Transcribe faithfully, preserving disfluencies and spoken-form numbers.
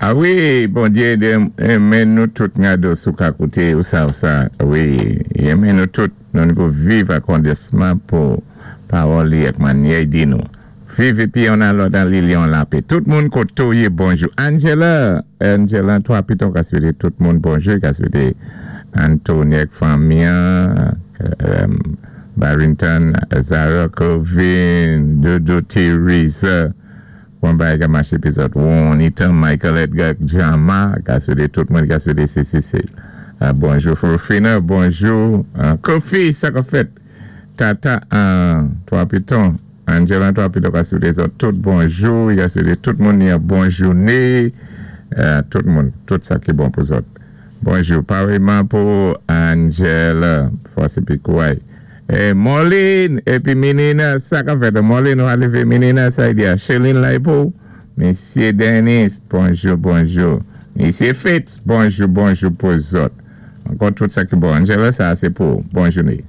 A wi, Bondyé enmen nou tout ngado sou ka kouté ou sa ou sa. Wi, enmen nou tout nou ni pou viv an kondisman pou pawòl li ak mannyè i di nou. Viv épi youn a lòt an linyon lapè. Tout moun koté ou yé bonjou. Angela, Angela, Twa Piton ka swété tout moun bonjou, ka swété Anthony ak fanmi an, Barrington, Zara, Colvin, Dodo, Teresa, Bon bagay ka maché pi zòt. Juanita, Michael Edgar, Jama, ka swété tout moun, ka swété C C C. Bonjou Fofina, bonjou Kofi, sa ka fèt. Tata, Twa Piton, Angela Twa Piton ka swété zòt tout bonjou, ka swété tout moun yon bon jouné, tout moun, tout sa ki bon pou zòt. Bonjou, pareman pou Angela, fòs épi kouway. E Molin, épi Minina, sa ka fèt, Molin ou alivé Minina, sa y di a Chéline la pou, Misyé Dennis, bonjou, bonjou. Misyé Fitz, bonjou, bonjou pou zòt. Ankò tout sa ki bon. Angela, sa sé pou, bon jouné.